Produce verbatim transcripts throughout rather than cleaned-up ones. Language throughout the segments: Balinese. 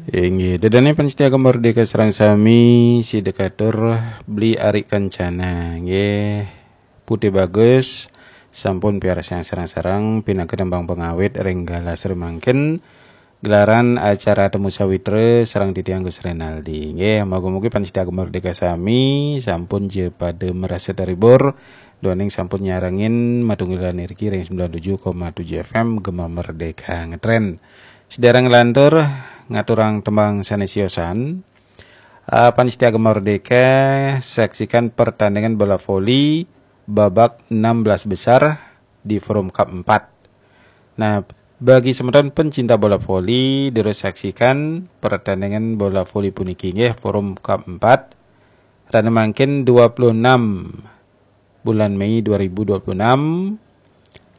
Inggih, ida dané pamiarsa Gema Merdeka sareng sami, sida katur Beli Ari Kencana, nggih. Putih Bagus sampun piarsayang sareng-sareng pinaka tembang pangawit ring galah sri mangkin, gelaran acara Temu Sawitra sareng titiang Gus Renaldi. Nggih, mugi-mugi pamiarsa Gema Merdeka sami sampun ja pada marasa terhibur duaning sampun nyarengin matunggilan iriki ring sembilan tujuh koma tujuh F M Gema Merdeka ngetren. Sedereng nglantur ngaturang tembang sané siosan, ah, pamiarsa Gema Merdeka, saksikan pertandingan bola voli babak enam belas besar di Forum Cup empat. Nah, bagi semeton pencinta bola voli, durus saksikan pertandingan bola voli puniki, nggih, Forum Cup empat. Rahina mangkin dua puluh enam bulan Mei dua ribu dua puluh enam,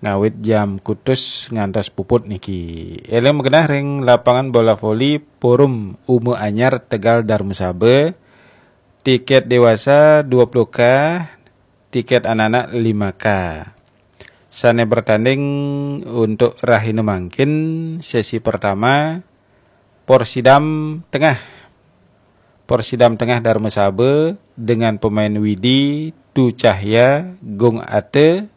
ngawit jam kutus ngantos puput niki. Éling magenah ring lapangan bola voli Forum Uma Anyar, Tegal, Darmasaba. Tiket dewasa dua puluh K, tiket anak-anak lima K. Sané bertanding untuk rahina mangkin, sesi pertama, Porsidam Tengah. Porsidam Tengah Darmasaba dengan pemain Widi, Tu Cahya, Gung Ate,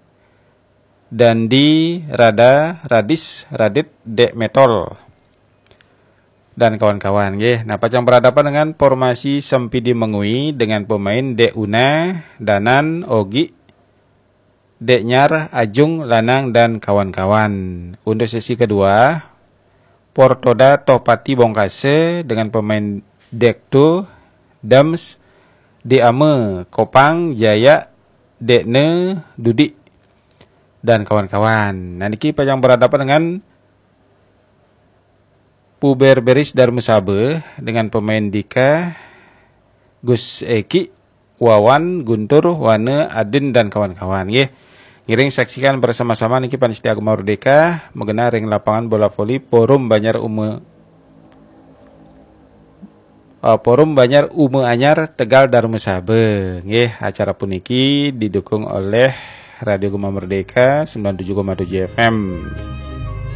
Dandi, Rada, Radis, Radit, Dek Metol, dan kawan-kawan, nggih. Nah, pacang berhadapan dengan formasi Sempidi Mengwi dengan pemain Dek Una, Danan, Ogi, Dek Nyar, Ajung, Lanang, dan kawan-kawan. Untuk sesi kedua, Portoda Tohpati Bongkase dengan pemain Dekto, Dams, Diame, Kopang, Jaya, Dekne, Dudi, dan kawan-kawan. Nah, niki pacang berhadapan dengan Puber Beris Darmasaba dengan pemain Dika, Gus Eki, Wawan, Guntur, Wana, Adin, dan kawan-kawan, nggih. Ngiring saksikan bersama-sama niki pamiarsa Gema Merdeka, magenah ring lapangan bola voli Forum Banjar Uma, eh, Forum Banjar Uma Anyar, Tegal, Darmasaba, nggih. Acara puniki didukung oleh Radio Gema Merdeka sembilan tujuh koma tujuh F M.